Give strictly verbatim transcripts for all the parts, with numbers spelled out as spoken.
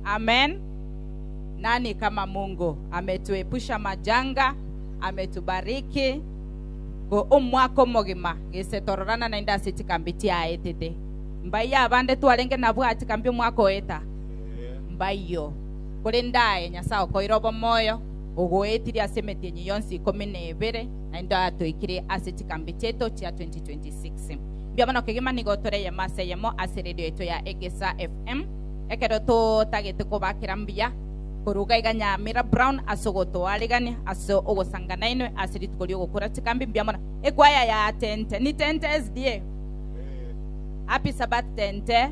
Amen. Nani kama Mungu? Ametuepusha majanga, ametubariki ko omwaka omogima gese tororana naende ase chikambi chiaetete mbai abande twarenge nabwo achikambi omwaka oeta mbaiyo kore ndaye Nyasaye okoira obomoyo ogoetire ase emetienyi yonsi ikomi na ebere naende atoikire ase chikambi chieto chia twenty twenty-six. Mbuya mono kegima nigo tore eyemo ase eyemo ase radio yeto ya Egesa F M ekero totagete kobakera mbuya koruga iga Nyamira Brown ase ogotoarigania ase ogosangana inwe ase rituko riogokora chikambi. Mbuya mono ekwaya ya Tente ni Tente S D A. Happy Sabbath, Tente.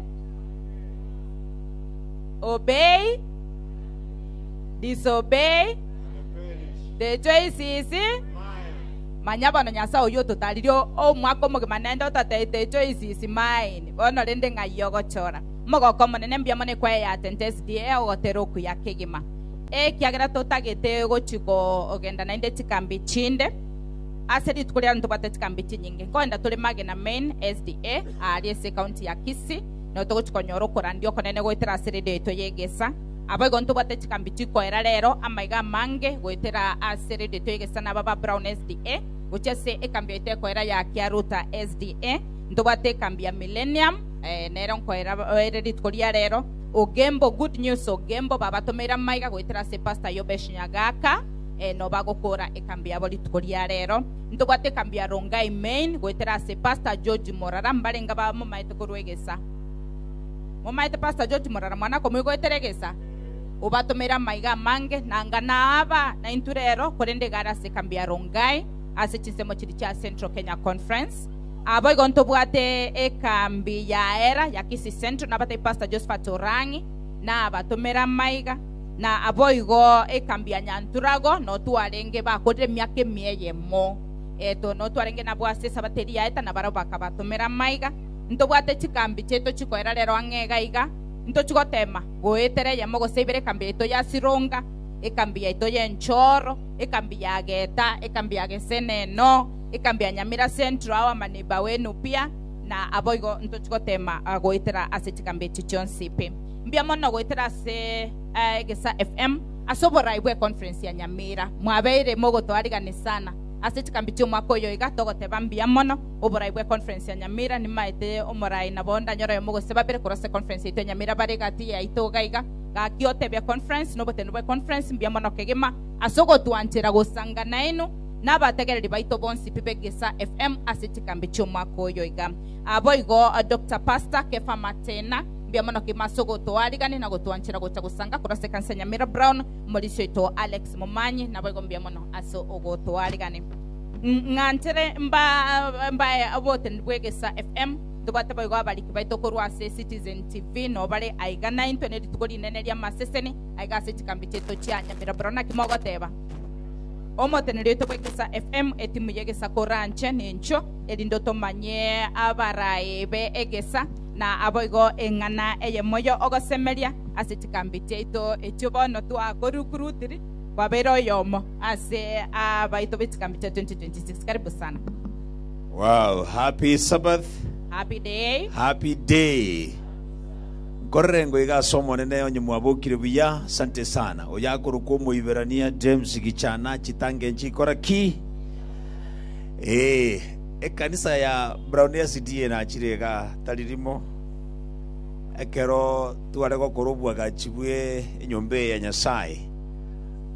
Obey, disobey, the choice is manya. Bono Nyasaye oyo ototaririe omwaka omogima naende ototeete choice is mine. Bono rende ng'ai ogochora omogoko omonene? Mbuya mono ekwaya ya Tente S D A ogotera okuya kegima ekiagera totagete gochi kogenda naende chikambi chinde ase rituko riaro ntobwate chikambi chinyinge nkoenda tore Magena Main S D A ari ase ekaunti ya Kisii no togochi konyora okorandia okonene goetera ase radio yaito yegesa. Abo igo ntobwate chikambi chikoera rero amaiga amange goetera ase radio yaito yegesa naba ba Brown S D A gochia ase ekambi yaito ekoera ya Kiaruta S D A. Ntobwate ekambi ya Millennium eh, nero nkoera ere rituko ria rero. Ogembo, Good News Ogembo babatomeire amaiga goetera ase Pastor Yobesh Nyagaka eh, no bagokora ekambi yabo rituko ria rero. Ntobwate ekambi ya Rongai Main goetera ase Pastor George Morara. Mbarenga bamomaete korwa egesa? Momaete Pastor George Morara mwana komoigoetera egesa obatomera amaiga amange nanga naaba naintu rero korende gara ase ekambi ya Rongai ase chinsemo chiri chia Central Kenya Conference. Abo igo ntobwate ekambi ya era ya Kisii Central nabatai Pastor Josephat Orangi nabatomera amaiga na abo igo ekambi ya Nyanturago notwarenge bakorire emiaka emieyemo eto notwarenge nabwo ase esabateri yaeta nabaro bakabatomera amaiga. Ntobwate chikambi cheto chikoera rero ang'e iga ntochigotema goetera eyemo gose ibere ekambi yaito ya Sironga, ekambi yaito ya Enchoro, ekambi ya Geta, ekambi ya Geseneno, ekambi ya Nyamira Central awa maneiba wenu pia na abo igo ntochigotema uh, goetera ase chikambi echi chionsi pi. Mbia mono goetera ase uh, Egesa F M ase oborai bwa conference ya Nyamira mwabeire mogotwarigani sana ase chikambi chi'omwaka oyo iga togoteba mbuya mono oborai bwa conference ya Nyamira nimaete omorai nabo ndanyora oyo mogose babere korwa ase conference yaito ya Nyamira bare gati yaito iga iga gaki otebia conference nobotendo bwa conference. Mbuya mono kegima ase ogotwanchera gosangana inu n'abategereri baito bonsi pi b'Egesa F M ase chikambi chi'omwaka oyo iga. Abo igo uh, Doctor Pastor Kefa Matena, mbuya mono kegima ase ogotwarigani na gotwanchera gocha gosanga korwa ase ekanisa Nyamira Brown. Omorisi oito Alex Momanyi nabo igo mbuya mono ase ogotwarigani. Ng'anchere mba mbae obotendi bwa Egesa F M. Ntobwate boigo abariki baito korwa ase Citizen T V nobare aiga naintwe ne rituko rinene ria maseseni aiga ase chikambi chieto chia Nyamira Brown. Naki mogoteba omoteneri oito bwa Egesa F M etimu ya Egesa koranche nencho erinde tomanye abarae be Egesa na aboigo eng'ana eyemoyo ogosemeria ase chikambi chiaito echio bono twakorukurutiri kwabeire oyomo ase abaito be chikambi chia twenty twenty-six. Karibu sana. Wow, happy Sabbath. Happy day. Happy day. Nkorere iga ase omonene onye mwabokire buya, asante sana. Oyakorokwa omoiberania James Gichana chitange nchikora ki? Eh, ekanisa ya Brown S D A nachire iga taririmo. Ekero tware gokora obwagachi bwe enyomba eye ya Nyasaye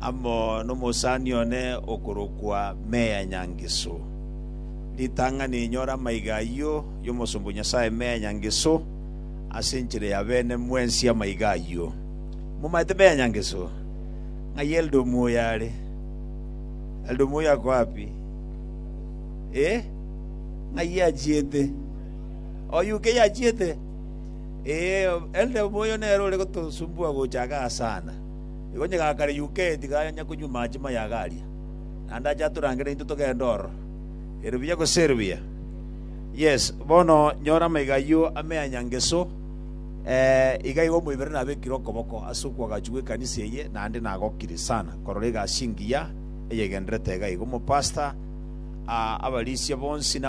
amo n'omosani one okorokwa Meya Nyangiso. Ritang'ani nyora amaiga ayio y'omosombo Nyasaye Meya Nyangiso ase enchera ya bene mwensi amaiga ayio. Mumaete Meya Nyangiso? Ng'ai Eldo Omuoyo are? Eldo Omuoyo ako wapi? Eh? Ng'ai achiete? Oyuke yachiete? Eh, Eldo Omuoyo nere ore gotosumbua gocha igaa sana. Igo onye gakare U K tiga kunywa machi mayaga aria. Naende acha atorangere intwe togende ororo. Ere buya gose ere buya? Yes, bono nyora amaiga ayio amea Nyangeso eh, iga igo omoibere nabekire okoboko ase okwagachi gwa ekanisa eye naende nagokire sana korora egasi engiya eyegenderete iga igo omopasta ah, abarisia bonsi na